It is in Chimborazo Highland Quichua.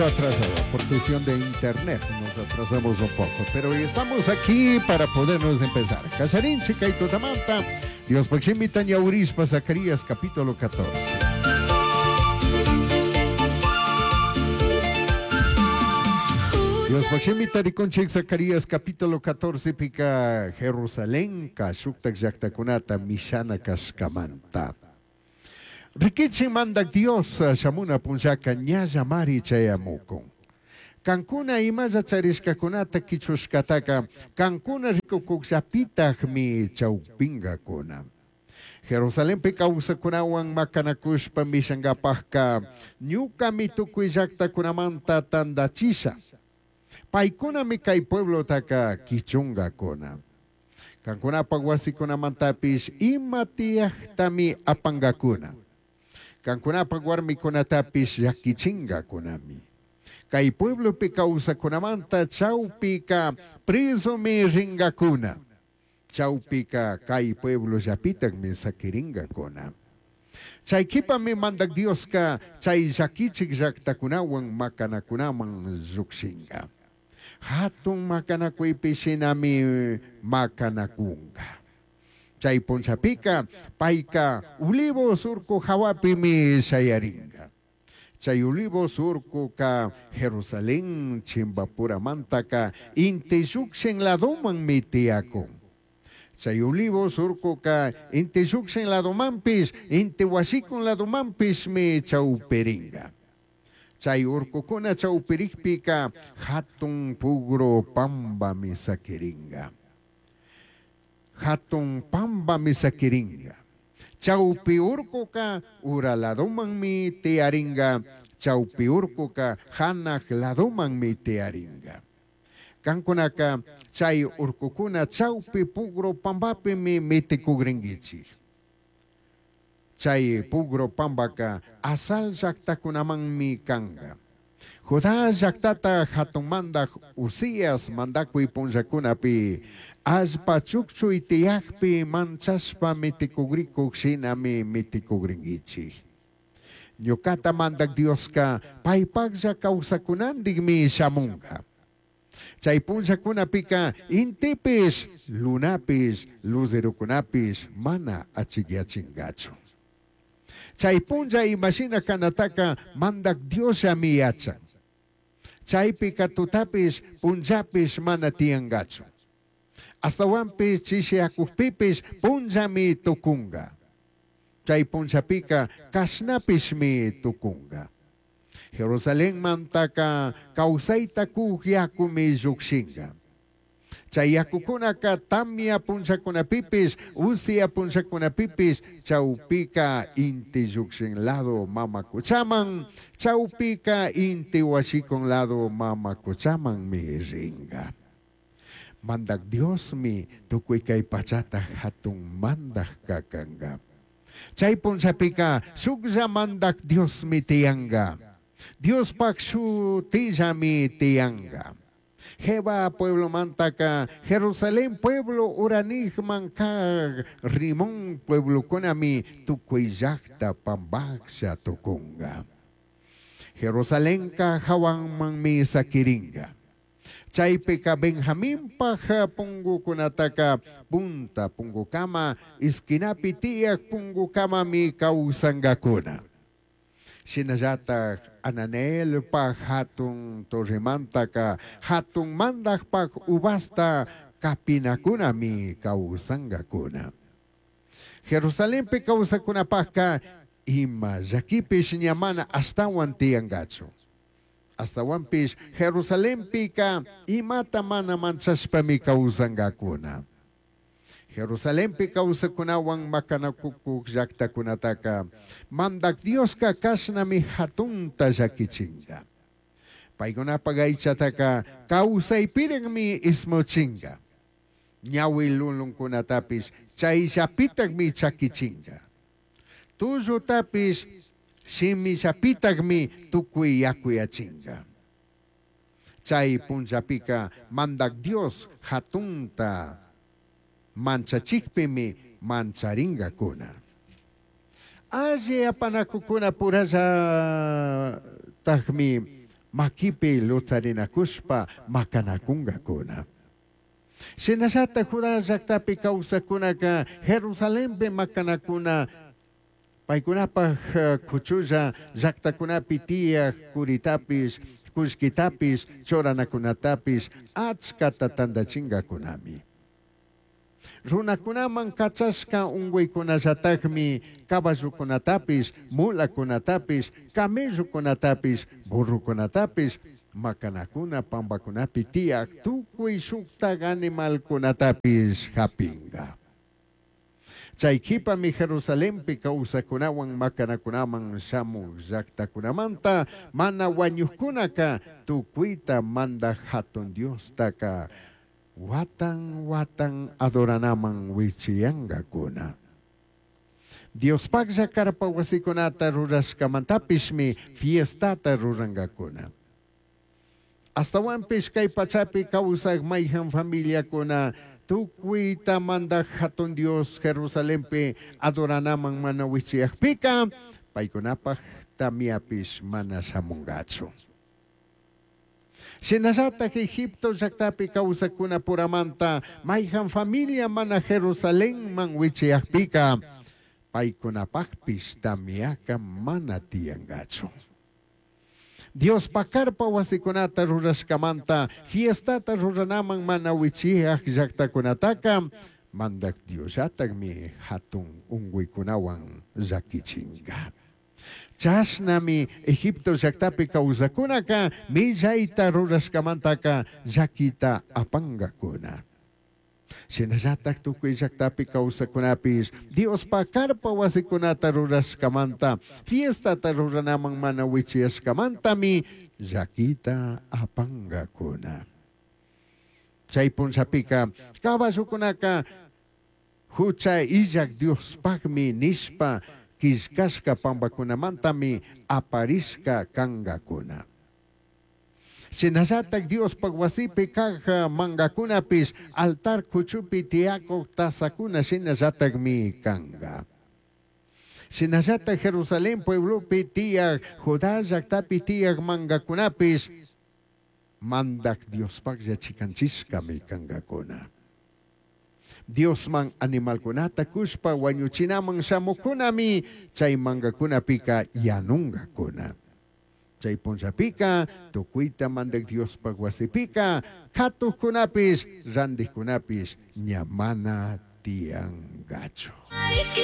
Atrasado por cuestión de internet, nos atrasamos un poco, pero estamos aquí para podernos empezar. Casarín, Chica y Tutamanta, Dios Paximita Ñaurispa, Zacarías, capítulo 14. Dios Paximita Riconchik, Zacarías, capítulo 14, pica Jerusalén, Kashuktak Yaktakunata, Mishana Kashkamanta. Rikichi mandak Dios shamuna punllaka ñallamari chayamukun. Kankuna imalla charishkakunata kichushkataka kankuna rikukukllapitakmi chawpinkakuna. Jerusalenpi kawsakunawan makanakushpa mishankapakka ñukami tukuy llaktakunamanta tandachisha. Paykunami kay pueblotaka kichunkakuna. Kankunapak wasikunamantapish ima tiyaktami apankakuna. Kankunapak warmikunatapish llakichinkakunami. Kay pueblopi kawsakunamanta chawpika presomi rinkakuna. Chawpika kay pueblollapitakmi sakirinkakuna. Chay kipami mandak Dioska chay llakichik llaktakunawan makanakunaman llukshinka. Hatun makanakuypi shinami makanakunka. Chay punchapika payka Olivos urku hawapimi shayarinka. Chay Olivos urkuka Jerusalén chimbapuramantaka inti llukshin ladomanmi tiyakun. Chay Olivos urkuka inti llukshin ladomanpish, inti wasikun ladomanpishmi chawpirinka. Chay urkukuna chawpirikpika hatun pugro pambami sakirinka. Hatun pambami sakirinka. Chawpi urkuka ura ladomanmi tiyarinka, chawpi urkuka hanaq ladomanmi tiyarinka. Kankunaka chay urkukuna chawpi pugro pambapimi mitikugrinkichik. Chay pugro pambaka Asal llaktakunamanmi kanka. Judá llaktata hatun mandak Uzías mandakuy punllakunapi allpa chukchuy tiyakpi manchashpa mitikugrikuk shinami mitikugrinkichik. Ñukata mandak Dioska paypaklla kawsakunantikmi shamunka. Chay punllakunapika intipish, lunapish, luzerokunapish mana achikyachinkachu. Chay punlla imashina kanataka mandak Diosllami yachan. Chaypika tutapish, punllapish mana tiyankachu. Astawanpish chishiakukpipish punllami tukunka. Chay punllapika kashnapishmi tukunka. Jerusalenmantaka kawsayta kuk yakumi llukshinka. Chay yakukunaka tamya punllakunapipish, usia punllakunapipish, chawpika inti llukshin lado mama kuchaman, chawpika inti washikun lado mama kuchamanmi rinka. Mandak Diosmi tukuy kay pachata hatun mandak kakanka. Chay punllapika shuklla mandak Diosmi tiyanka. Diospak shutillami tiyanka. Jeba pueblo mantaka, Jerusalén pueblo uranijman kag, Rimón pueblo kunami tukuy llakta pambaksha tukunga. Jerusalénka hawanmanmi sakiringa. Chaypika Benjaminpaj pungukunataka punta pungukama, esquinapi tiyak pungukamami kawsankakuna. Shinallatak Ananelpaj hatun torremantaka hatun mandakpak uvasta kapinakunami kawsankakuna. Jerusalenpi kawsakunapajka ima llakipish ña mana ashtawan tiyankachu. Ashtawanpish Jerusalenpika imata mana manchashpami kawsankakuna. Jerusalenpi kawsakunawan makanakukuk llaktakunataka mandak Dioska kashnami hatunta llakichinka. Paykunapak aychataka kawsaypirinmi ismuchinka. Ñawi lulunkunatapish chayllapitakmi chakichinka. Tullutapish shimillapitakmi tukuy yakuyachinka. Chay punllapika mandak Dios hatunta manchachikpimi mancharinkakuna. Alli apanakukuna purallatakmi maquipi lutsarinacushpa macanacungacuna. Shinallataj Judá llajtapi causajcunaca Jerusalenpi macanacuna paicunapaj cuchulla llajtacunapi tiyaj curitapish, cullquitapish, churanacunatapish achcata tandachingacunami. Runacunaman cachashca ungüicunallatajmi caballocunatapish, mulacunatapish, camellocunatapish, burrocunatapish, macanacuna pambacunapi tiyaj tucui shujtaj animalcunatapish japinga. Chai quipami Jerusalenpi causajcunahuan macanacunaman shamuj llajtacunamanta mana huañujcunaca tucuita mandaj Jatun Diostaca huatan huatan adoranaman huichiyangacuna. Diospajlla carpa huasicunata rurashcamantapishmi fiestata rurangacuna. Ashtahuanpish cai pachapi causaj maijan familiacuna tucuita mandaj Jatun Dios Jerusalenpi adoranaman mana huichiyajpica paicunapaj tamiapish mana shamungachu. Shinallataj Egipto llajtapi causajcunapuramanta maijan familia mana Jerusalenman huichiyajpica paicunapajpish tamiaca mana tiyangachu. Diospaj carpa huasicunata rurashcamanta fiestata ruranaman mana huichiyaj llajtacunataca Mandaj Diosllatajmi jatun ungüicunahuan llaquichinga. Chashnami Egipto llajtapi causajcunaca millaita rurashcamantaca llaquita apangacuna. Shinallataj tucui llajtapi causajcunapish Diospaj carpa huasicunata rurashcamanta fiestata ruranaman mana huichiyashcamantami llaquita apangacuna. Chai punllapica caballocunaca jucha illaj Diospajmi nishpa quillcashca pambacunamantami aparishca cangacuna. Shinallataj Diospaj huasipi kaj mangacunapish altar cuchupi tiyacuj tasacuna shinallatajmi canga. Shinallataj Jerusalén pueblopi tiyaj, Judá llajtapi tiyaj mangacunapish mandaj Diospajlla chicanchishcami cangacuna. Diosman animalcunata cushpa huañuchinaman shamucunami chay mangacunapika yanungacuna. Chay punllapika tucuita mandaj Diospaj huasipika katujcunapish randijcunapish ña mana tiyangachu.